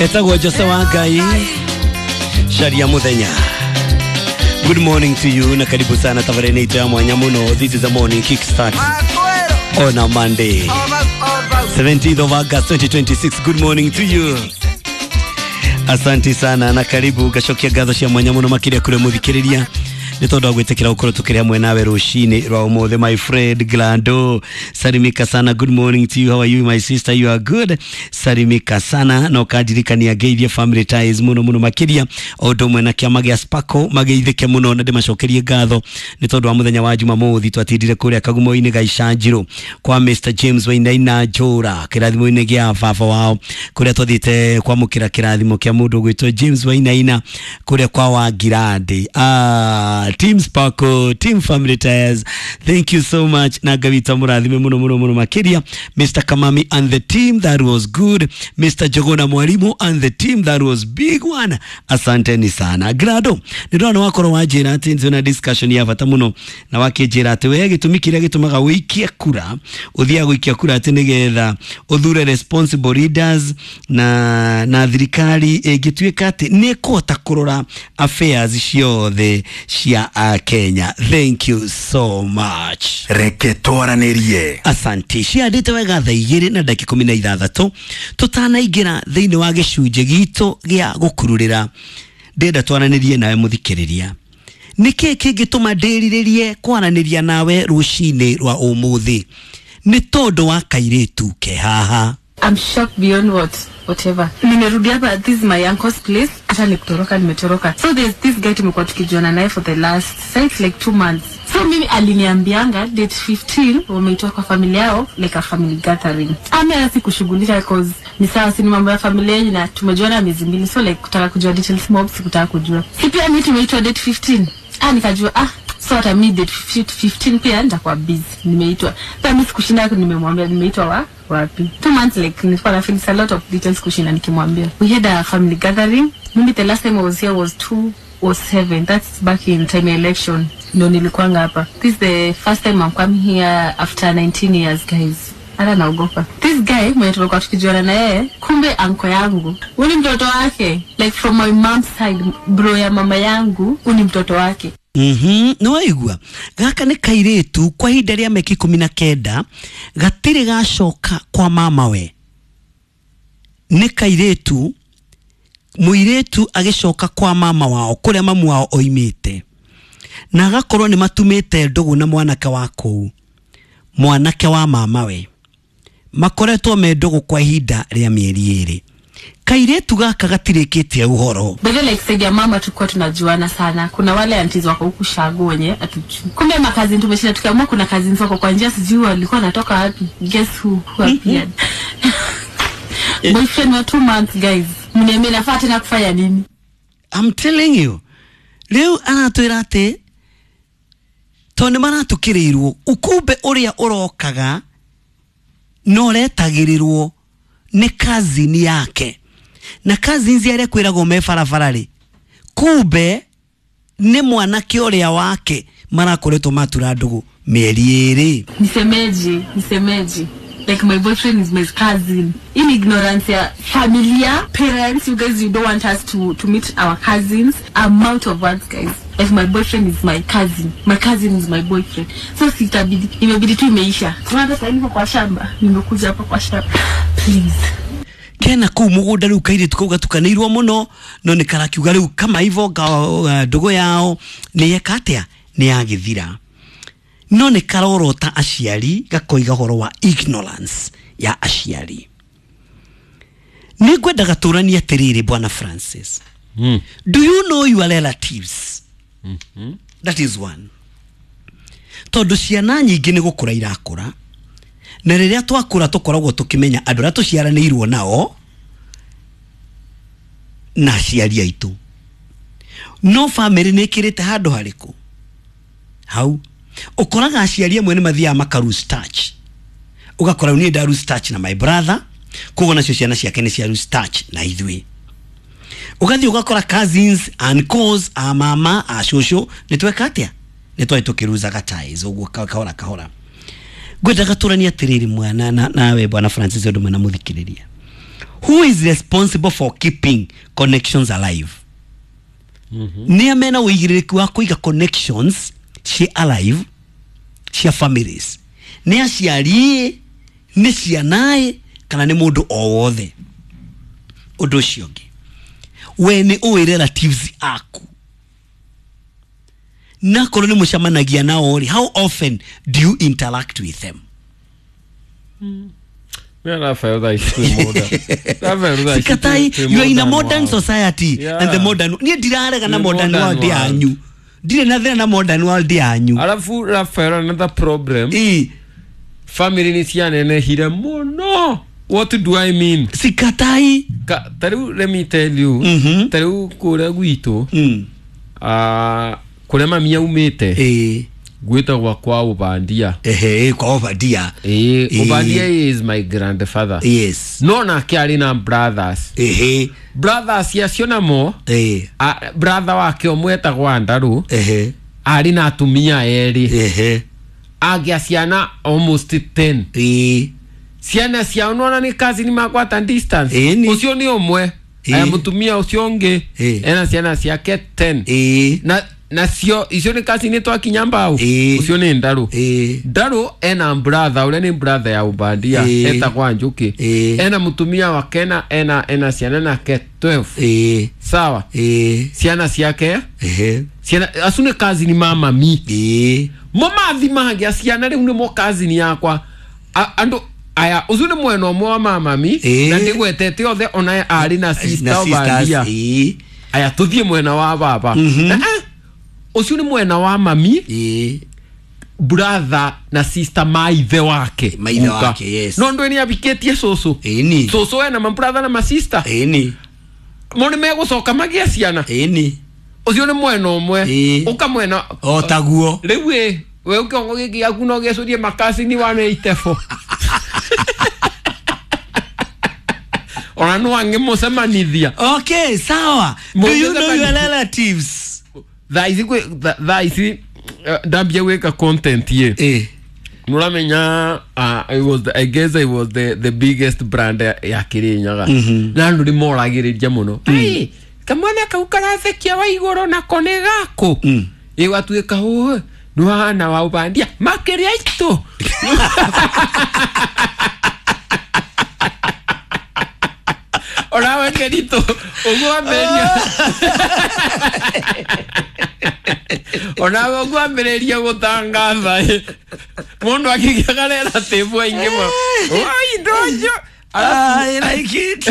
Etagwo Jose wa Ngai Sharia Muthenya. Good morning to you na karibu sana tabarene itu ya mwanya muno. This is the morning kickstart on a Monday, 17th of August 2026. Good morning to you. Asante sana na karibu gacokia ngatho cia mwanya muno makiria kuri muthikiriria nä tondå wa gwä tä kä ra gå korwo tå kä rä hamwe nawe rå cinä rwa å må thä. My friend Glando, salimika sana. Good morning to you, how are you my sister? You are good. Salimika sana na ũkandirikania ngeithie family ties muno muno makiria o ũndũ ũmwe na kĩama gĩa Sparkle mageithĩke mũno na ndĩmacokerie ngatho nĩ tondũ wa mũthenya wa Jumamothi twatindire kũrĩa Kagumo-inĩ ga Icanjirũ kwa Mr James Wainaina Njũra kĩrathimo-inĩ gĩa baba wao kũrĩa twathiĩte kwamũkĩra kĩrathimo kĩa mũndũ ũgwĩtwo James Wainaina kũrĩa kwa Wangirandi. Team Sparkle, Team Family Tires, thank you so much. Na Ngai witũ amũrathime mũno mũno mũno makĩria. Mr Kamami and the team, that was good. Mr Jogona Mwalimu and the team, that was big one. Asanteni sana. Grado, nĩ ndona wakorwo wanjĩra atĩ nĩ na discussion ya bata mũno na wakĩnjĩra atĩ we gĩtũmi kĩrĩa gĩtũmaga ũikie kura ũthiaga gũikia kura atĩ nĩgetha ũthure responsible leaders na thirikari ĩngĩtuĩka atĩ nĩ ĩkũhota kũrora affairs ciothe cia Kenya. Thank you so much. Reke twaranĩrie. Asante. Ciandĩte wega thaa igĩrĩ na ndagĩka 16 tũtanaingĩra thĩinĩ wa gĩcunjĩ gitũ gĩa gũkururĩra, ndĩrenda twaranĩrie nawe mũthikĩrĩria. Nĩkĩ kĩngĩtũma ndĩrirĩrie kwaranĩria nawe rũcinĩ rwa ũmũthĩ? Nĩ tondũ wa kairĩtu ke haha. I'm shocked beyond whatever. Nimerudi hapa, this is my uncle's place. Hata nikutoroka nimetoroka. So there's this guy tumekuwa tukijuana naye for the last since like 2 months. So mimi aliniambianga date 15 wameitwa kwa familia yao, like a family gathering. Ame sikushughulisha cause ni sawa, si ni mambo ya familia yenyu na tumejuana miezi 2, so like kutaka kujua details mob sikutaka kujua. Si pia mimi tumeitwa date 15. Nikajua so hata mimi date 15 pia nitakuwa busy. Nimeitwa. Pia mimi sikushinda, nimemwambia nimeitwa wapi. 2 months like nilikuwa na feel a lot of details kushinda nikimwambia. We had a family gathering. Mimi the last time I was here was 2007. That's back in time election. Ndio nilikuwa hapa. This is the first time I'm coming here after 19 years guys. Hata naogopa. This guy mwenye tumekuwa tukijuana na yeye, kumbe anko yangu. Huyu ni mtoto wake. Like from my mom's side, bro ya mama yangu, huyu ni mtoto wake. Nĩ waigua gaka nĩ kairĩtu kwa ihinda rĩa mĩaka 19 gatirĩ gacoka kwa mama we. Nĩ kairĩtu mũirĩtu agĩcoka kwa mama wao kũrĩa mamu wao oimĩte, na agakorwo nĩ matumĩte ndũgũ na mwanake wa kũu, mwanake wa mama we, makoretwo me ndũgũ kwa ihinda rĩa mĩeri 2. Kairĩtu gaka gatirĩkĩtie ũhoro. But like said ya mama tulikuwa tunajuana sana. Kuna wale aunties wako huku shago wenye atujui. Kumbe makazi tumeshinda tukiamua kuna cousins wako kwa njia sijui walikuwa wanatoka wapi. Guess who appeared. Boyfriend wa 2 months guys. Mniambie nafaa tena kufanya nini? I'm telling you. Rĩu aratwĩra atĩ tondũ nĩ maratukĩrĩirwo ukumbe ũrĩa ũrokaga no ũretagĩrĩrwo nĩ cousin yake, na cousins arĩa kwĩragwo me barabara rĩ, kumbe nĩ mwanake ũrĩa wake marakoretwo matura ndũgũ mĩeri 2. Nisemeje like my boyfriend is my cousin. In ignorance ya familia, parents, you guys, you don't want us to meet our cousins. I'm out of words guys. Like my boyfriend is my cousin, my cousin is my boyfriend. So sitabidi, imebidi tu imeisha. Tunaanza sasa niko kwa shamba, nimekuja hapa kwa shamba. Please. Kena kuu mugunda riu kairĩtu kau gatukanĩirwo mũno no nĩ karakiuga rĩu kama hivyo ndũgũ yao nĩ yeka atĩa nĩ yagĩthira, no nĩ karorota aciari gakoiga ũhoro wa ignorance ya aciari. Nĩ ngwendaga tũranie atĩrĩrĩ bwana Francis. Do you know your relatives? That is one. Tondũ ciana nyingĩ nĩ gũkũra irakũra, na rĩrĩa twakũra tũkoragwo tũkĩmenya andũ arĩa tũciaranĩirwo nao na aciari aitũ. No family nĩ ĩkĩrĩte handũ harĩkũ? Hau ũkoraga aciari amwe nĩ mathiaga maka lose touch. Ũgakora niĩ nda lose touch na my brother, koguo nacio ciana ciake nĩ cia lose touch na ithuĩ. Ũgathiĩ ũgakora cousins, uncles, a mama, a cũcũ nĩ tweka atĩa? Nĩ twarĩ tũkĩruzaga ties ũguo kahora kahora. Ngwendaga tũranie atĩrĩrĩ mwana nawe bwana Francis ũndũ mwena mũthikĩrĩria. Who is responsible for keeping connections alive? Nĩ a mena ũigĩrĩrĩki wa kũiga connections ci alive cia families? Nĩ aciari, nĩ ciana, kana nĩ mũndũ o wothe? Ũndũ ũcio ũngĩ, we nĩ ũĩ relatives aku? Na korwo nĩ mũcemanagia nao rĩ, how often do you interact with them? Sikatai, you are in a modern society. Yeah. And the modern, niĩ ndirarega na modern world yanyu, ndirĩ na thĩna na modern world yanyu. Alafu Rafael, another problem, family nĩ cianenehire mũno. What do I mean? Sikatai. Tariu, let me tell you, tariu kũrĩa gwitũ, kũrĩa mami aumĩte, gwĩtagwo kwa Obandia. Ehe, kwa Obandia. Obandia is my grandfather. Yes. No nake arĩ na brothers. Ehe. Brothers acio namo, brother wake ũmwe etagwo Andarũ. Ehe. Arĩ na atumia erĩ. Ehe. Agĩa ciana almost 10. Ciana ciao nona nĩ cousin makwa at distance. Ũcio nĩ ũmwe. Aya mũtumia ũcio ũngĩ ena ciana ciake 10. Na nacio icio nĩ cousin twakinya mbao. Ũcio nĩ Ndaru. Ndaru ena brother ũrĩa nĩ brother ya Obandia etagwo Njuki. Ena mũtumia wake na ena ciana nake 12. Sawa. Ciana ciake ciana acu nĩ cousin ma mami. Mo mathi magĩa ciana rĩu nĩmo cousin yakwa. Andũ aya ũcio nĩ mwena ũmwe wa mamami na ndigwetete othe ona arĩ na sister Obandia. Aya tuthiĩ mwena wa baba. Ũcio nĩ mwena wa mami, brother na sister ma ithe wake. Ma ithe wake, yes. No ndũ nĩ abikĩtie cũcũ. Cũcũ ena ma brother na ma sister. Mo nĩ megũcoka magĩe ciana. Ũcio nĩ mwena ũmwe. Ũka mwena o taguo. Rĩu ĩ we ũkĩongo gĩkĩ gĩaku no gĩcũrie makasini 184. Ona no angĩmũcemanithia. Okay, sawa. Do you know your relatives? Thaa ici ndambia gwĩka content ye. Nũramenya, I guess I was the biggest brand ya Kirinyaga. Na andũ nĩmoragĩrĩria mũno. Ai, kamwana kau karathekia wa igũrũ nako nĩ gaku. Ĩgatuĩka ũũ nĩwahana wa Obandia makĩria itũ. Ona kerito ũguo ambĩrĩria. Ona ũguo ambĩrĩria gũtangatha mũndũ akĩgĩaga relative aingĩ mũno. Oi ndojo. I like it.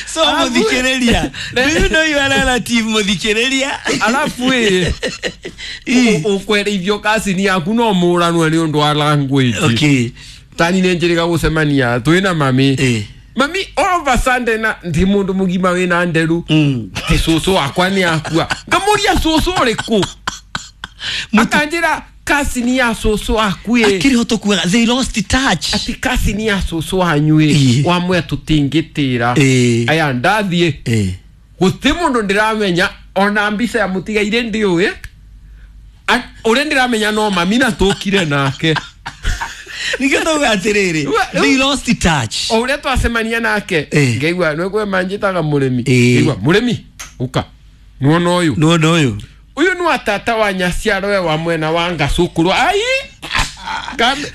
So mũthikĩrĩria, do you know your relative mũthikĩrĩria? Alafu ĩ ũkwerithio cousin yaku no mũranwe nĩ ũndũ wa language. Okay. Tani nĩ njĩrĩga gũcemania twĩna mami. Mami all of a sudden na ndi mũndũ mũgima wĩna nderu. Atĩ cũcũ wakwa nĩ akua. Ngamũria cũcũ ũrĩkũ? Akanjĩra cousin ya cũcũ waku ĩ. Akĩrĩ ho tũkuaga they lost touch. Atĩ cousin ya cũcũ wanyu ĩ wamwe tũtingĩtĩra. Aya ndathiĩ. Gũtirĩ mũndũ ndĩramenya ona mbica ya mũtigaire ndiũĩ. Ũrĩa ndĩramenya no mami na tũkire nake. Nikio tauga atĩrĩrĩ, they lost touch. O ũrĩa twacemania nake ngaigua nĩ manjĩtaga mũrĩmi. Ngaigua mũrĩmi ũka nĩwona ũyũ. Nĩwona ũyũ. Ũyũ nĩ wa tata wa nyaciaro wa mwena wa Ngacũkũrũ. Ai!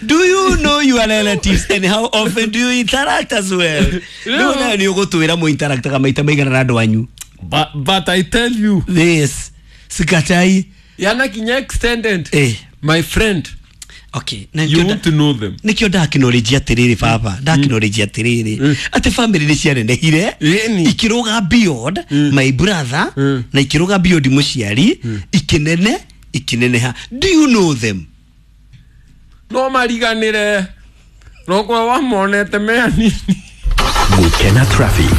Do you know your relatives and how often do you interact as well? No, no, nĩ ũgũtwĩra mũ interactaga maita maigana na andũ anyu. But I tell you this, sikatai. Yana kinya extended. My friend. Okay, you want to know them. Nikio ndakinorijia atiriri baba, ndakinorijia atiriri ati family ni cianenehire ikiruga beyond my brother na ikiruga beyond muciari ikinene ikineneha. Do you know them? No mariganire no kwa wamonete me anini. Gukena traffic.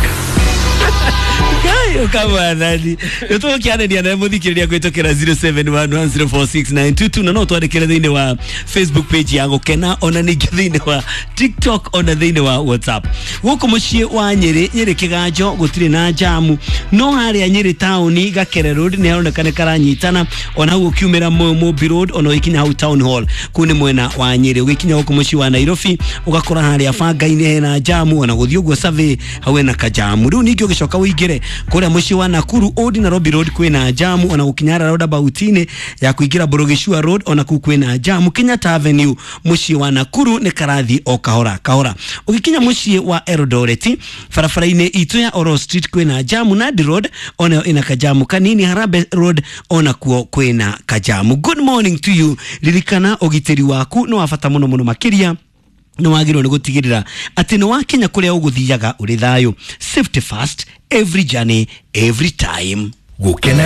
Ũkamwathani nĩ tũgũkĩarĩria nawe mũthikĩrĩria kũhĩtũkĩra 0711046922 na no twandĩkĩre thĩinĩ wa Facebook page ya Gũkena, ona ningĩ thĩinĩ wa TikTok, ona thĩinĩ wa WhatsApp. Gũkũ mũciĩ wa Nyĩrĩ, Nyĩrĩ Kĩganjo gũtirĩ na jamu, no harĩa Nyĩrĩ taũni Gakere Road nĩ haroneka nĩ karanyitana, ona hau ũkiumĩra Mũmbi Road, ona ũgĩkinya hau Town Hall kũu nĩ mwena wa Nyĩrĩ. Ũgĩkinya gũkũ mũciĩ wa Nairobi ũgakora harĩa bangainĩ hena jamu, ona gũthiĩ ũguo Survey hau hena kajamu. Rĩu ningĩ ũgĩcoka ũingĩre kũrĩa mũciĩ wa Nakuru Old Nairobi Road kwĩna jamu, ona gũkinya roundabout-inĩ ya kũingĩra Borogicua Road ona kũu kwĩna jamu. Kenyatta Avenue mũciĩ wa Nakuru nĩ karathi o kahora kahora. Ũgĩkinya mũciĩ wa Eldoret barabara-inĩ itũ ya Oro Street kwĩna jamu, Nandi Road onayo ĩna kajamu kanini, Harambee Road ona kuo kwĩna kajamu. Good morning to you. Ririkana ũgitĩri waku nĩ wa bata mũno mũno makĩria nĩ wagĩrĩirwo nĩ gũtigĩrĩra atĩ nĩ wakinya kũrĩa ũgũthiaga ũrĩ thayũ. Safety first, every journey, every time. Gũkena.